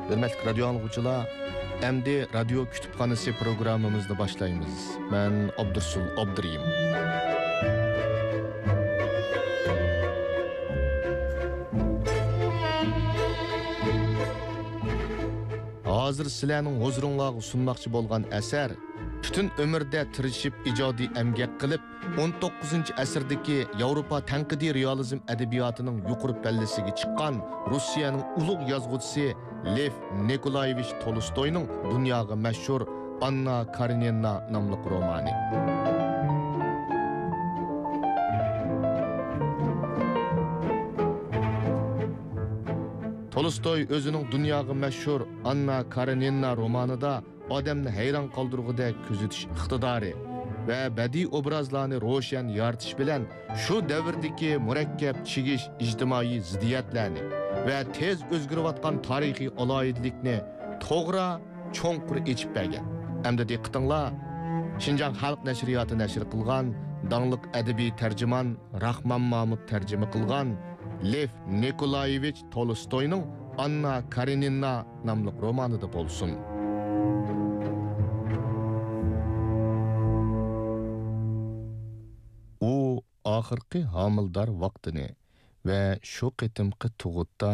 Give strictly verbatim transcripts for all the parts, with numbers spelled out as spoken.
ھۆرمەتلىك رادىيو ئاڭلىغۇچىلار، ئەمدى رادىيو كۇتۇپخانىسى پروگراممىمىزنى باشلايمىز. مەن ئابدۇرسۇل ئابدۇرېھىم. ھازىر سىلەرنىڭ ھۇزۇرۇڭلارغا سۇنماقچى بولغان ئەسەر پۈتۈن ئۆمرىدە تىرىشىپ ئىجادىي ئەمگەك قىلىپ، ئون توققۇزىنچى ئەسىردىكى ياۋروپا تەنقىدىي رېئالىزم ئەدەبىياتىنىڭ يۇقىرى پەللىسىگە چىققان روسىيەنىڭ ئۇلۇغ يازغۇچىسى لېف نىكولايېۋىچ تولستوينىڭ دۇنياغا مەشھۇر ئاننا كارېنىنا ناملىق رومانى. تولستوي ئۆزىنىڭ دۇنياغا مەشھۇر ئاننا كارېنىنا رومانىدا ئادەمنى ھەيران قالدۇرغۇدەك كۆزىتىش ئىقتىدارى ۋە بەدىئىي ئوبرازلارنى روشەن يارىتىش بىلەن شۇ دەۋردىكى مۇرەككەپ چىگىش ئىجتىمائىي زىددىيەتلەرنى ۋە تېز ئۆزگىرىۋاتقان تارىخىي ئالاھىدىلىكنى توغرا، چوڭقۇر ئېچىپ بەرگەن. ئەمدى دىققىتىڭلار، شىنجاڭ خەلق نەشرىياتى نەشر قىلغان داڭلىق ئەدەبىي تەرجىمان راخمان مامۇت تەرجىمە قىلغان لېف نىكولايېۋىچ تولستوينىڭ ئاننا كارېنىنا ناملىق رومانىدا بولسۇن. ئۇ ئاخىرقى ھامىلىدار ۋاقتىنى ۋە شۇ قېتىمقى تۇغۇتتا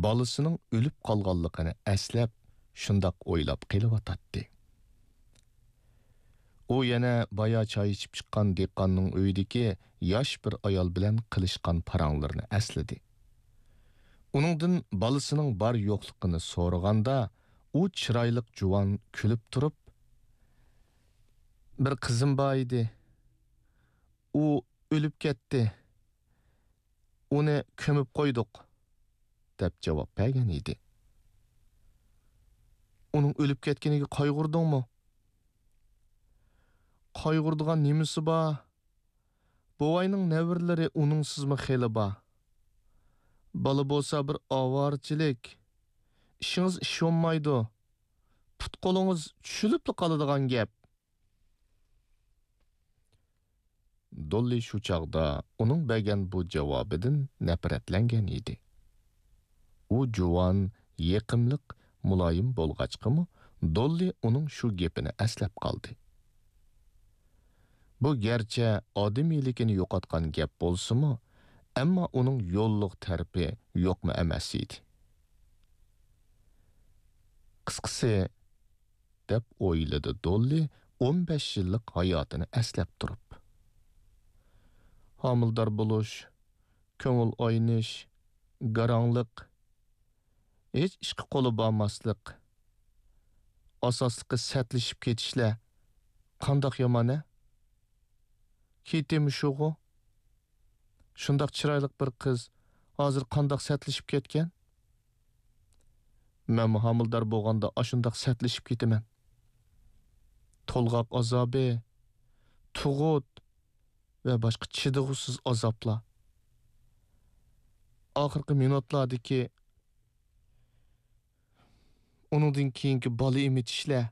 بالىسىنىڭ ئۆلۈپ قالغانلىقىنى ئەسلەپ، شۇنداق ئويلاپ قېلىۋاتاتتى. ئۇ يەنە بايا چاي ئىچىپ چىققان دېھقاننىڭ ئۆيىدىكى ياش بىر ئايال بىلەن قىلىشقان پاراڭلىرىنى ئەسلىدى. ئۇنىڭدىن بالىسىنىڭ بار-يوقلۇقىنى سورىغاندا، ئۇ چىرايلىق جۇۋان كۈلۈپ تۇرۇپ، «بىر قىزىم بار ئىدى. ئۇ ئۆلۈپ كەتتى. ئۇنى كۆمۈپ قويدۇق» دەپ جاۋاب بەرگەن ئىدى. «ئۇنىڭ ئۆلۈپ كەتكىنىگە قايغۇردۇڭمۇ؟» «قايغۇرىدىغان نېمىسى بار؟ بوۋاينىڭ نەۋرىلىرى ئۇنىڭسىزمۇ خېلى بار. بالا بولسا بىر ئاۋارىچىلىك. ئىشىڭىز ئىش بولمايدۇ. پۇت-قولىڭىز چۈشۈلۈپلا قالىدىغان گەپ.» دوللى شۇ چاغدا ئۇنىڭ بەرگەن بۇ جاۋابىدىن نەپرەتلەنگەن ئىدى. ئۇ جۇۋان، يېقىملىق، مۇلايىم بولغاچقىمۇ، دوللى ئۇنىڭ شۇ گېپىنى ئەسلەپ قالدى. بۇ گەرچە ئادىمىيلىكىنى يوقاتقان گەپ بولسىمۇ، ئەمما ئۇنىڭ يوللۇق تەرىپى يوقمۇ ئەمەس ئىدى. قىسقىسى، دەپ ئويلىدى دوللى ئون بەش يىللىق ھاياتىنى ئەسلەپ تۇرۇپ. ھامىلىدار بولۇش، كۆڭۈل ئاينىش، گاراڭلىق، ھېچ ئىشقا قولى بارماسلىق، ئاساسلىقى سەتلىشىپ كېتىشلەر قانداق يامان-ھە؟ كېيىتى مۇشۇغۇ؟ شۇنداق چىرايلىق بىر قىز ھازىر قانداق سەتلىشىپ كەتكەن؟ مەنمۇ ھامىلىدار بولغاندا ئاشۇنداق سەتلىشىپ كېتىمەن. تولغاق ئازابى، تۇغۇت ۋە باشقا چىدىغۇسىز ئازابلار. ئاخىرقى مىنۇتلاردىكى، ئۇنىڭدىن كېيىنكى بالا ئېمىتىشلەر،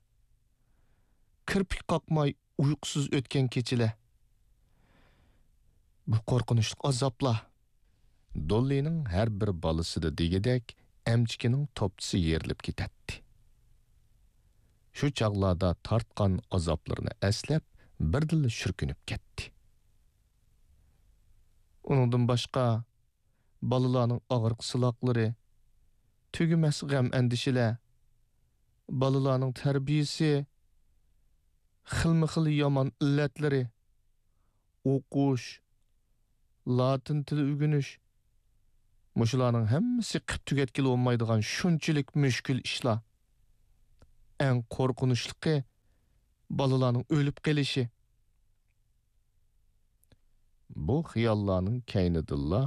كىرپىك قاقماي ئۇيقۇسىز ئۆتكەن كېچىلەر. بۇ قورقۇنچلۇق ئازابلار. دوللىنىڭ ھەر بىر بالىسىدا دېگۈدەك ئەمچىكىنىڭ توپچىسى يېرىلىپ كېتەتتى. شۇ چاغلاردا تارتقان ئازابلىرىنى ئەسلەپ، بىردىنلا شۈركۈنۈپ كەتتى. ئۇنىڭدىن باشقا، بالىلارنىڭ ئاغرىق-سىلاقلىرى، تۈگىمەس غەم-ئەندىشىلەر، بالىلارنىڭ تەربىيىسى، خىلمۇ خىل يامان ئىللەتلىرى، ئوقۇش، لاتىن تىلى ئۆگىنىش، مۇشۇلارنىڭ ھەممىسى قىپ تۈگەتكىلى بولمايدىغان شۇنچىلىك مۈشكۈل ئىشلار. ئەڭ قورقۇنچلۇقى، بالىلارنىڭ ئۆلۈپ قېلىشى. بۇ خىياللارنىڭ كەينىدىنلا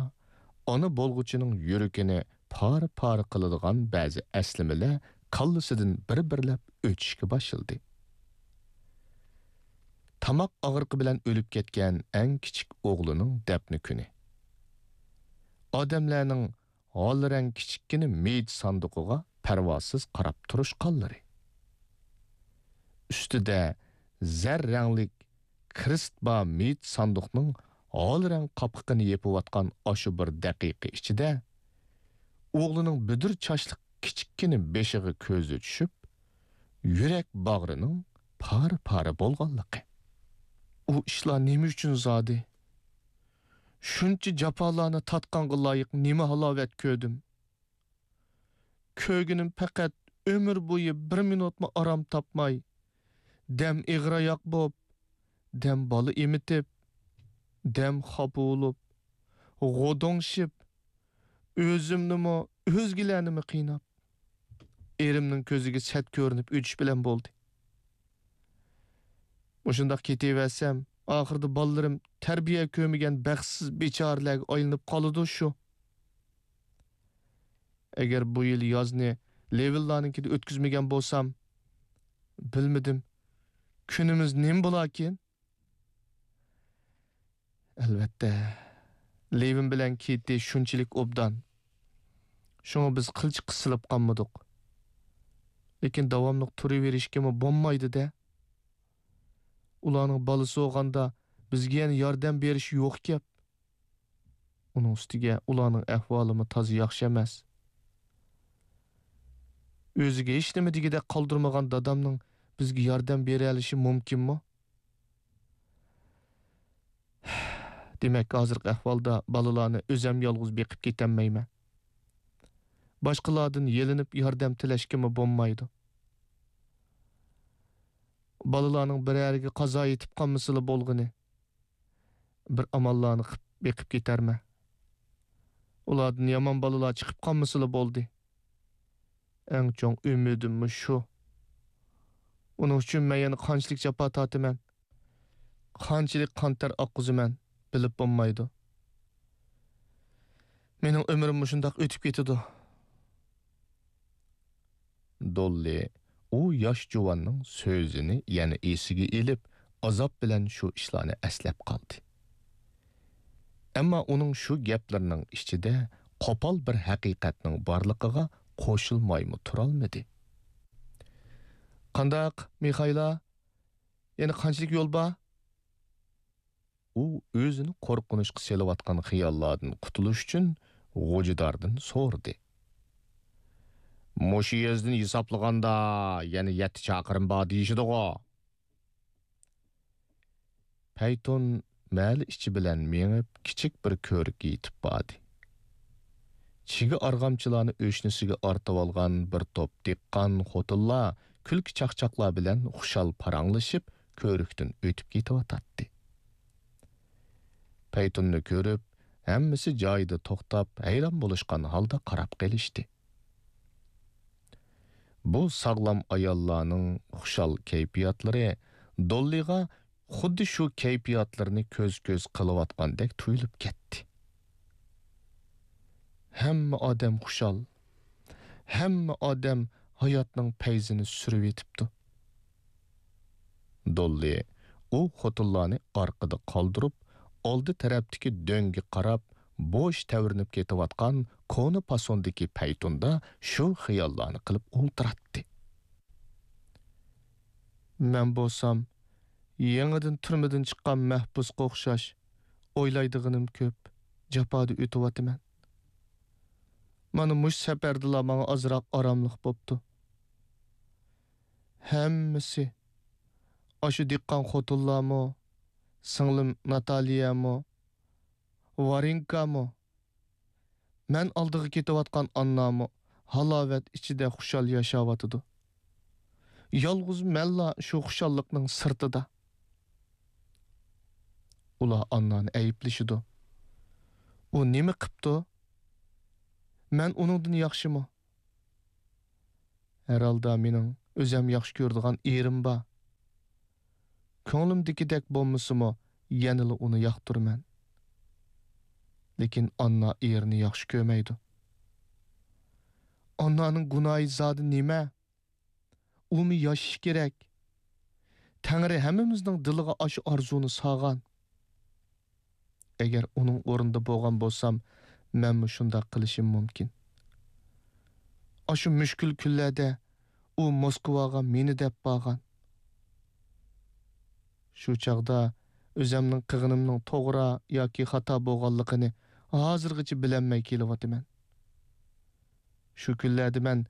ئانا بولغۇچىنىڭ يۈرىكىنى پارە-پارە قىلىدىغان بەزى ئەسلىمىلەر كاللىسىدىن بىر-بىرلەپ ئۆتۈشكە باشلىدى. تاماق ئاغرىقى بىلەن ئۆلۈپ كەتكەن ئەڭ كىچىك ئوغلىنىڭ دەپنە كۈنى. ئادەملەرنىڭ ھال رەڭ كىچىككىنە مېيىت ساندۇقىغا پەرۋاسىز قاراپ تۇرۇشقانلىرى. ئۈستىدە زەر رەڭلىك كرېست بار مېيىت ساندۇقنىڭ ھال رەڭ قاپىقىنى يېپىۋاتقان ئاشۇ بىر دەقىقە ئىچىدە، ئوغلىنىڭ بۈدۈر چاچلىق كىچىككىنە بېشىغا كۆزى چۈشۈپ، يۈرەك باغرىنىڭ پارە-پارە بولغانلىقى. ئۇ ئىشلار نېمە ئۈچۈن زادى؟ شۇنچە جاپالارنى تارتقانغا لايىق نېمە ھالاۋەت كۆردۈم؟ كۆرگىنىم پەقەت ئۆمۈر بويى بىر مىنۇتمۇ ئارام تاپماي، دەم ئېغىر-ئاياق بوپ، دەم بالا ئېمىتىپ، دەم خاپا بولۇپ، غودوڭشىپ، ئۆزۈمنىمۇ، ئۆزگىلەرنىمۇ قىيناپ، ئېرىمنىڭ كۆزىگە سەت كۆرۈنۈپ ئۆتۈش بىلەن بولدى. مۇشۇنداق كېتىۋەرسەم، ئاخىرىدا بالىلىرىم تەربىيە كۆرمىگەن بەختسىز بىچارىلەرگە ئايلىنىپ قالىدۇ شۇ. ئەگەر بۇ يىل يازنى لېۋىنلارنىڭكىدە ئۆتكۈزمىگەن بولسام، بىلمىدىم، كۈنىمىز نېمە بولاركىن؟ ئەلۋەتتە، لېۋىن بىلەن كېتى شۇنچىلىك ئوبدان. شۇڭا بىز قىلچە قىسىلىپ قالمىدۇق. لېكىن داۋاملىق تۇرۇۋېرىشكىمۇ بولمايدۇ-دە. ئۇلارنىڭ بالىسى بولغاندا بىزگە يەنە ياردەم بېرىش يوق گەپ. ئۇنىڭ ئۈستىگە ئۇلارنىڭ ئەھۋالىمۇ تازا ياخشى ئەمەس. ئۆزىگە ھېچنېمە دېگۈدەك قالدۇرمىغان دادامنىڭ بىزگە ياردەم بېرەلىشى مۇمكىنمۇ؟ دېمەك، ھازىرقى ئەھۋالدا بالىلارنى ئۆزەم يالغۇز بېقىپ كېتەلمەيمەن. باشقىلاردىن يېلىنىپ ياردەم تىلەشكىمۇ بولمايدۇ. بالىلارنىڭ بىرەرىگە قازا يېتىپ قالمىسىلا بولغىنى. بىر ئاماللارنى قىپ بېقىپ كېتەرمەن. ئۇلاردىن يامان بالىلار چىقىپ قالمىسىلا بولدى. ئەڭ چوڭ ئۈمىدىممۇ شۇ. ئۇنىڭ ئۈچۈن مەن يەنە قانچىلىك جاپا تارتىمەن، قانچىلىك قان تەر ئاققۇزىمەن، بىلىپ بولمايدۇ. مېنىڭ ئۆمرۈم مۇشۇنداق ئۆتۈپ كېتىدۇ. دوللى ئۇ ياش جۇۋاننىڭ سۆزىنى يەنە ئېسىگە ئېلىپ، ئازاب بىلەن شۇ ئىشلارنى ئەسلەپ قالدى. ئەمما ئۇنىڭ شۇ گەپلىرىنىڭ ئىچىدە قوپال بىر ھەقىقەتنىڭ بارلىقىغا قوشۇلمايمۇ تۇرالمىدى. قانداق، مىخايلا؟ يەنە قانچىلىك يول بار؟ ئۇ ئۆزىنى قورقۇنچقا سېلىۋاتقان خىياللاردىن قۇتۇلۇش ئۈچۈن غوجىداردىن سورىدى. مۇشۇ يېزىدىن ھېسابلىغاندا يەنە يەتتە چاقىرىم بار دېيىشىدىغۇ. پەيتۇن مەھەللە ئىچى بىلەن مېڭىپ، كىچىك بىر كۆۋرۈككە يېتىپ باردى. چىگە ئارغامچىلارنى ئۆشنىسىگە ئارتىۋالغان بىر توپ دېھقان خوتۇنلار كۈلكە-چاقچاقلار بىلەن خۇشال پاراڭلىشىپ، كۆۋرۈكتىن ئۆتۈپ كېتىۋاتاتتى. پەيتۇننى كۆرۈپ، ھەممىسى جايىدا توختاپ، ھەيران بولۇشقان ھالدا قاراپ قېلىشتى. بۇ ساغلام ئاياللارنىڭ خۇشال كەيپىياتلىرى دوللىغا خۇددى شۇ كەيپىياتلىرىنى كۆز-كۆز قىلىۋاتقاندەك تۇيۇلۇپ كەتتى. ھەممە ئادەم خۇشال، ھەممە ئادەم ھاياتنىڭ پەيزىنى سۈرۈۋېتىپتۇ. دوللى ئۇ خوتۇنلارنى ئارقىدا قالدۇرۇپ، ئالدى تەرەپتىكى دۆڭگە قاراپ بوش تەۋرىنىپ كېتىۋاتقان كونا پاسوندىكى پەيتۇندا شۇ خىياللارنى قىلىپ ئولتۇراتتى. مەن بولسام يېڭىدىن تۈرمىدىن چىققان مەھبۇسقا ئوخشاش ئويلايدىغىنىم كۆپ، جاپادا ئۆتۈۋاتىمەن. مانا مۇشۇ سەپەردىلا ماڭا ئازراق ئاراملىق بوپتۇ. ھەممىسى، ئاشۇ دېھقان خوتۇنلارمۇ، سىڭلىم ناتالىيەمۇ، ۋارېنكامۇ، مەن ئالدىغا كېتىۋاتقان ئاننامۇ ھالاۋەت ئىچىدە خۇشال ياشاۋاتىدۇ. يالغۇز مەنلا شۇ خۇشاللىقنىڭ سىرتىدا. ئۇلار ئاننانى ئەيىبلىشىدۇ. ئۇ نېمە قىپتۇ؟ مەن ئۇنىڭدىن ياخشىمۇ؟ ھەر ھالدا مېنىڭ ئۆزەم ياخشى كۆرىدىغان ئېرىم بار. كۆڭلۈمدىكىدەك بولمىسىمۇ، يەنىلا ئۇنى ياقتۇرىمەن. لېكىن ئاننا ئېرىنى ياخشى كۆرمەيدۇ. ئاننانىڭ گۇناھى زادى نېمە؟ ئۇمۇ ياشىشى كېرەك. تەڭرى ھەممىمىزنىڭ دىلىغا ئاشۇ ئارزۇنى سالغان. ئەگەر ئۇنىڭ ئورنىدا بولغان بولسام، مەنمۇ شۇنداق قىلىشىم مۇمكىن. ئاشۇ مۈشكۈل كۈنلەردە ئۇ موسكۋاغا مېنى دەپ بارغان. شۇ چاغدا ئۆزەمنىڭ قىلغىنىمنىڭ توغرا ياكى خاتا بولغانلىقىنى ھازىرغىچە بىلەلمەي كېلىۋاتىمەن. شۇ كۈنلەردە مەن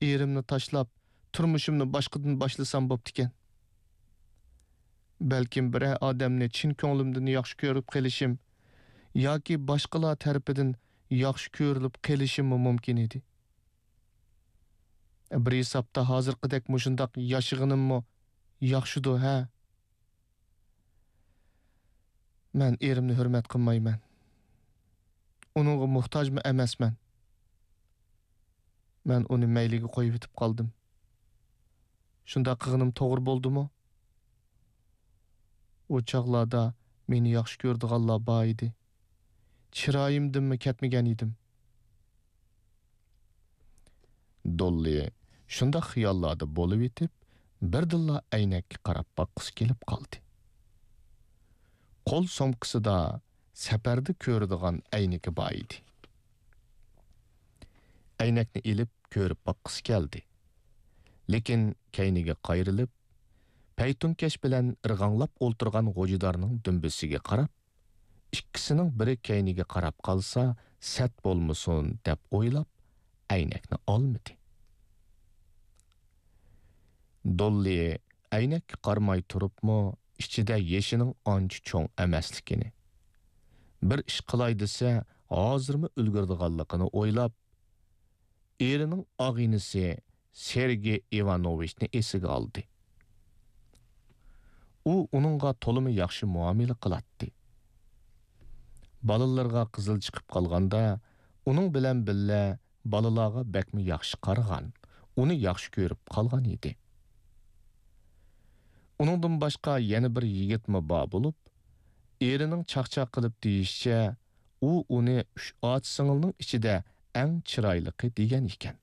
ئېرىمنى تاشلاپ، تۇرمۇشۇمنى باشقىدىن باشلىسام بوپتىكەن. بەلكىم بىرەر ئادەمنى چىن كۆڭلۈمدىن ياخشى كۆرۈپ قېلىشىم ياكى باشقىلار تەرىپىدىن ياخشى كۆرۈلۈپ قېلىشىممۇ مۇمكىن ئىدى. بىر ھېسابتا ھازىرقىدەك مۇشۇنداق ياشىغىنىممۇ ياخشىدۇ، ھە؟ مەن ئېرىمنى ھۆرمەت قىلمايمەن. ئۇنىڭغا موھتاجمۇ ئەمەسمەن. مەن ئۇنى مەيلىگە قويۇۋېتىپ قالدىم. شۇنداق قىلغىنىم توغرا بولدىمۇ؟ ئۇ چاغلاردا مېنى ياخشى كۆرىدىغانلار بار ئىدى. چىرايىمدىنمۇ كەتمىگەن ئىدىم. دوللى شۇنداق خىياللاردا بولۇۋېتىپ، بىردىنلا ئەينەككە قاراپ باققۇسى كېلىپ قالدى. قول سومكىسىدا سەپەردە كۆرىدىغان ئەينىكى بار ئىدى. ئەينەكنى ئېلىپ كۆرۈپ باققۇسى كەلدى. لېكىن كەينىگە قايرىلىپ، پەيتۇنكەش بىلەن ئىرغاڭلاپ ئولتۇرغان غوجىدارنىڭ دۈمبىسىگە قاراپ، ئىككىسىنىڭ بىرى كەينىگە قاراپ قالسا سەت بولمىسۇن دەپ ئويلاپ، ئەينەكنى ئالمىدى. دوللى ئەينەككە قارىماي تۇرۇپمۇ ئىچىدە يېشىنىڭ ئانچە چوڭ ئەمەسلىكىنى، بىر ئىش قىلاي دېسە ھازىرمۇ ئۈلگۈرىدىغانلىقىنى ئويلاپ، ئېرىنىڭ ئاغىنىسى سېرگېي ئىۋانوۋىچنى ئېسىگە ئالدى. ئۇ ئۇنىڭغا تولىمۇ ياخشى مۇئامىلە قىلاتتى. بالىلىرىغا قىزىل چىقىپ قالغاندا، ئۇنىڭ بىلەن بىللە بالىلارغا بەكمۇ ياخشى قارىغان، ئۇنى ياخشى كۆرۈپ قالغان ئىدى. ئۇنىڭدىن باشقا يەنە بىر يىگىتمۇ بار بولۇپ، ئېرىنىڭ چاقچاق قىلىپ دېيىشىچە، ئۇ ئۇنى ئۈچ ئاچا-سىڭىلنىڭ ئىچىدە ئەڭ چىرايلىقى دېگەن ئىكەن.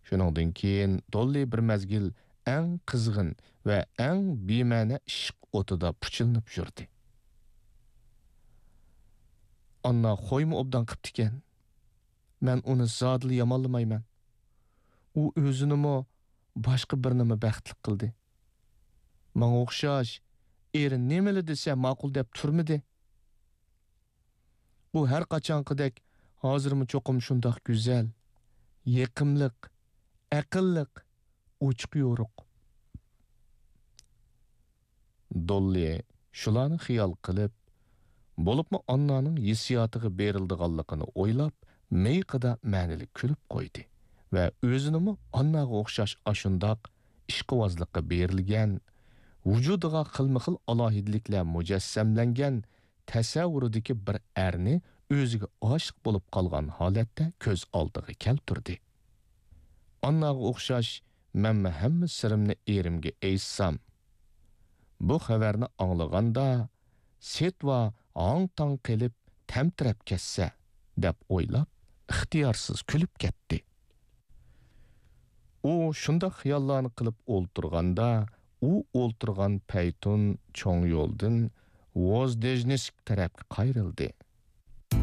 شۇنىڭدىن كېيىن دوللى بىر مەزگىل ئەڭ قىزغىن ۋە ئەڭ بىمەنە ئىشق ئوتىدا پۇچىلىنىپ يۈردى. ئاننا خويمۇ ئوبدان قىپتىكەن. مەن ئۇنى زادىلا يامانلىمايمەن. ئۇ ئۆزىنىمۇ، باشقا بىرىنىمۇ بەختلىك قىلدى. ماڭا ئوخشاش، ئېرى نېمىلا دېسە ماقۇل دەپ تۇرمىدى. ئۇ ھەر قاچانقىدەك ھازىرمۇ چوقۇم شۇنداق گۈزەل، يېقىملىق، ئەقىللىق، ئوچۇق يورۇق. دوللى شۇلارنى خىيال قىلىپ، بولۇپمۇ ئاننانىڭ ھېسسىياتىغا بېرىلىدىغانلىقىنى ئويلاپ، مىيىقىدا مەنىلىك كۈلۈپ قويدى ۋە ئۆزىنىمۇ ئانناغا ئوخشاش ئاشۇنداق ئىشقىۋازلىققا بېرىلگەن، ۋۇجۇدىغا خىلمۇخىل ئالاھىدىلىكلەر مۇجەسسەملەنگەن تەسەۋۋۇرىدىكى بىر ئەرنى ئۆزىگە ئاشىق بولۇپ قالغان ھالەتتە كۆز ئالدىغا كەلتۈردى. ئانناغا ئوخشاش مەنمۇ ھەممە سىرىمنى ئېرىمگە ئېيتسام، بۇ خەۋەرنى ئاڭلىغاندا، سېتۋا ھاڭ-تاڭ قېلىپ تەمتىرەپ كەتسە، دەپ ئويلاپ، ئىختىيارسىز كۈلۈپ كەتتى. ئۇ شۇنداق خىياللارنى قىلىپ ئولتۇرغاندا، ئۇ ئولتۇرغان پەيتۇن چوڭ يولدىن ۋوزدېژنىسك تەرەپكە قايرىلدى.